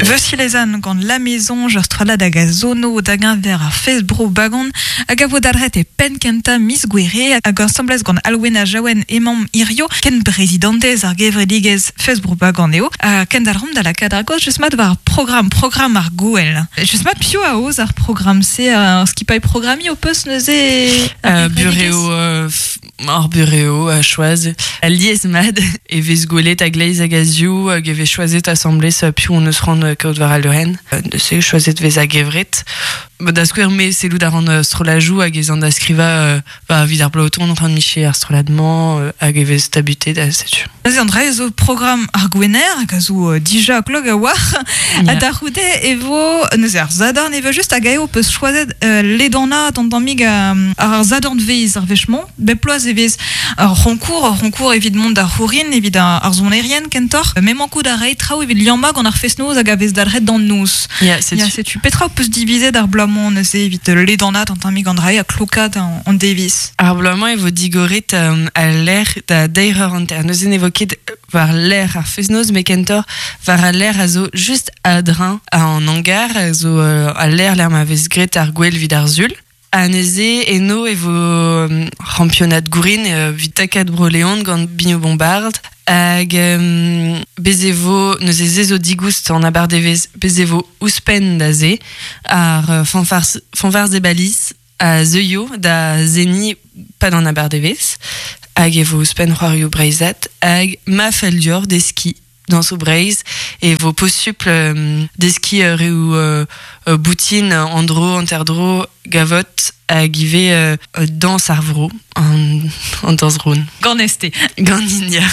Veusilezan gant la maison ur strollad hag a zono da geñver ar fest bro Bagan hag a vo dalc'het e penn kentañ miz Gouere hag asambles gant Alwena Jaouen emaomp hirio ken prezidantez ar gevredigezh fest bro Bagan eo ha kendalc'homp da lakaat ar gaoz just mat war ar programm programm ar gouel. Just mat piv a aoz ar programm-se ar skipailh programmiñ ho peus neuze ar gevredigezh? Burev Ar burev a choaz alies-mat e vez gwelet a-gleiz hag a-ziv hag e vez choazet asambles piv hon eus c'hoant kaout war al leurenn. Neuze choazet vez a-gevret. Da skouer, me sellout a ran strollajoù hag ez an da skrivañ ba, evit ar bloaz o tont c'hoant miche ar strollad-mañ hag e vez tabutet ha setu. Neuze an dra zo programm ar Gwener hag a zo dija klok a-walc'h. Ha da c'houde e vo neuze ar Sadorn e vo just hag eo peus choazet ledanaat an tammig ar Sadornvezh ar wech-mañ. Bep bloaz e vez ur c'honkour, ur c'honkour evit mont da c'hourin, evit ar sonerien kentoc'h. Mais mankout a ray traoù evit liammañ gant ar fest-noz hag a vez dalc'het d'an noz. Ya, setu. Ya, setu. Petra ho peus divizet ar bloaz-mañ neuze evit ledanaat an tammig an dra-se ha klokaat an devezh? Ar bloaz-mañ e vo digoret al lec'h da deir eur hanter. Neuze ne vo ket war lec'h ar fest-noz, met kentoc'h war al lec'h a zo just a-dreñv an hangar, a zo al lec'h lec'h ma vez graet ar gwel evit ar sul. Ha neuze eno e vo c'hampionad gourin evit takad Bro-Leon gant Bino Bombard. Hag bez e vo, neuze se zo digoust an abardevezh, bez e vo ouzhpenn da se ar fanfars, fanfars e Baliz a zeuio da seniñ pad an abardevezh. Hag e vo ouzhpenn c'hoarioù breizhat hag ma fell deoc'h deskiñ dañsoù Breizh e vo posupl deskiñ reoù boutin an dro, hanter-dro, gavot hag ivez dañs ar vro, an dañs roun. Ganez-te. Ganin, ya.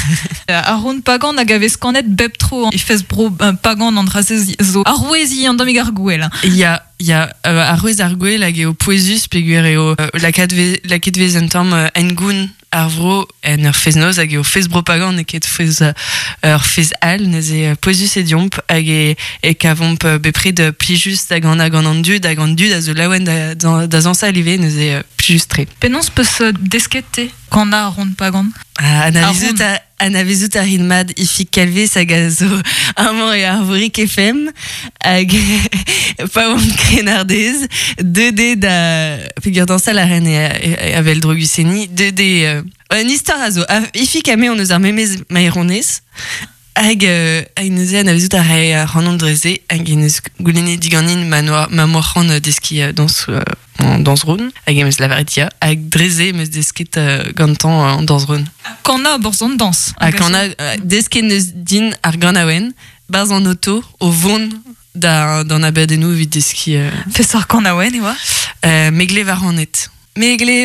Ar roun pagan hag a vez kanet bep tro e fest bro pagan an dra-se zo aroueziñ an tammig ar gouel. Ya, ya, arouez ar gouel hag eo pouezus peogwir eo lakaet vez, lakaet vez un tamm hengoun ar vro en ur fest-noz hag eo fest bro-pagan n'eo ket fest ur fest all neuze pouezus eo deomp hag e, e kavomp bepred plijus da ganañ gant an dud hag an dud a zo laouen da, da, da zañsal ivez neuze plijus-tre. Penaos peus desket te kanañ ar ront pagan? Anavezout a, anavezout a rin mat Ifig Kalvez hag a zo amañ e Arvorig FM hag pa oan krennardez deuet eo da peogwir dañsal a ren e avel drogusenniñ deuet eo un istor a zo Ifig ha me hon eus ar memes maeronez hag hag neuze anavezout a rae ac'hanon dre-se hag en deus goulennet diganin ma noa ma 'moa c'hoant deskiñ dañs an dañs-roun hag em eus lavaret ya hag dre-se em eus desket gantañ an dañs-roun. Kanañ 'barzh an dañs. Ha kanañ desket neus din ar ganaouenn 'barzh an oto o vont da d'an abadennoù evit deskiñ. Peseurt kanaouenn e oa? Me glev ar raned. Me glev